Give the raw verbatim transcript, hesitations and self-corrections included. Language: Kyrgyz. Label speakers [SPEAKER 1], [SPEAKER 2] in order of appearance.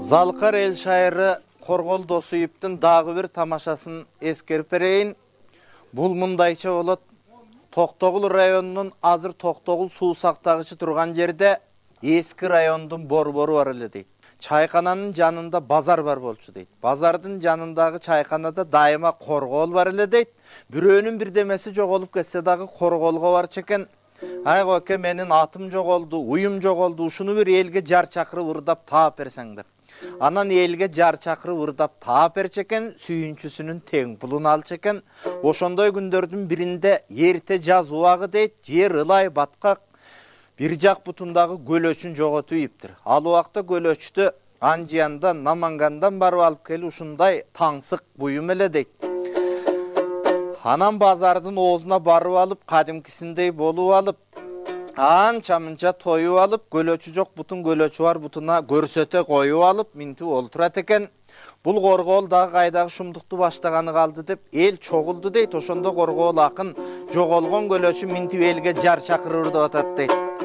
[SPEAKER 1] Залкар эл шайыры Коргол Досуевдин дагы бир тамашасын эскерип берейин. Бул мындайча болот. Токтогул районунун азыр Токтогул суу сактагычы турган жерде эски райондун борбору бар эле дейт. Чайкананын жанында базар бар болчу дейт. Базардын жанындагы чайканада дайыма коргол бар эле дейт. Бирөөнүн бирдемеси жоголуп кетсе дагы корголго барчу экен. Ай коке, менин атым жоголду, уюм жоголду, ушуну бир элге жар чакырып ырдап таап берсең деп. Анан элге жар чакырып ырдап таап берчү экен, сүйүнчүсүнүн тең пулун алчу экен. Ошондой күндөрдүн биринде эрте жаз убагы дейт, жер ылай баткак, бир жак бутундагы көлөчүн жоготуп ийиптир. Ал убакта көлөчтү Анжияндан, Намангандан барып алып келип ушундай таңсык буюм эле дейт. Анан базардын оозуна барып алып, кадимкисиндей болуп алып, анча-мынча тоюп алып, көлөчү жок бутун көлөчү бар бутуна көрсөтө коюп алып, минтип олтурат экен. Бул коргоол дагы кайдагы шумдукту баштаганы калды деп эл чогулду дейт. Ошондо коргоол акын жоголгон көлөчү минтип элге жар чакырып ырдап атат дейт.